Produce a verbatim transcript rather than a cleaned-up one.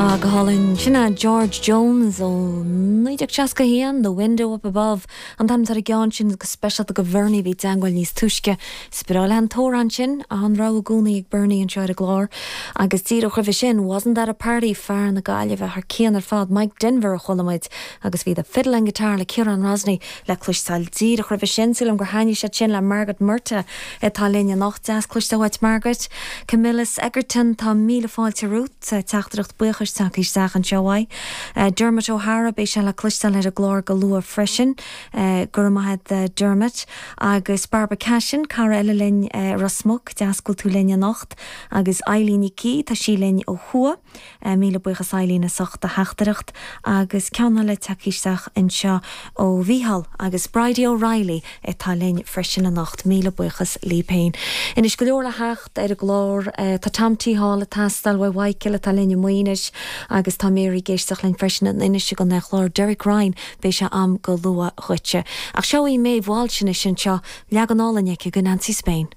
Ah, go hálainn sin é George Jones ó naoi déag seasca haon The Window Up Above an t-ainm ar an gceann sin go speisialta do Bhernie bhí teagmháil níos túisce Is breá an t-amhrán sin an rogha i gcónaí ag Bernie anseo ar an gclár agus díreach roimhe sin wasn't that a party fear na Gaillimhe thar cionn ar fad Mike Denver a chuala muid agus bhí the fiddle and guitar le Ciarán Rosney le cloisteáil díreach roimhe sin sílim gur thaitnigh sé sin le Margaret Murta atá linn anocht deas cloisteáil uait Margaret Camillus Egerton tá míle fáilte romhat teachtaireacht buíochais tagtha isteach anseo uaidh. Uh, Dermot O'Hara beidh sé le cloisteáil ar an gclár go luath freisin uh, go raibh maith agat uh, Dermot agus Barbara Cashin cara eile linn uh, Ros Muc deas go bhfuil tú linn anocht agus Eileen Icí tá sí linn ó thuaidh uh, míle buíochas Eileen as ucht do theachtaireacht agus ceann eile tagtha isteach anseo ó Mhícheál agus Bridie O'Reilly atá linn freisin anocht míle buíochas libh féin. Anois go leor le theacht ar an gclár uh, tá Tom T Hall ag teastáil ó Mhichael atá linn i Maínis agus tá Mary ag éisteacht linn freisin in Inis go chlár Derek Ryan beidh sé am go luath dhuitse. Ach seo í Maeve Walsh sin seo leagan álainn aici go Nancy Spain.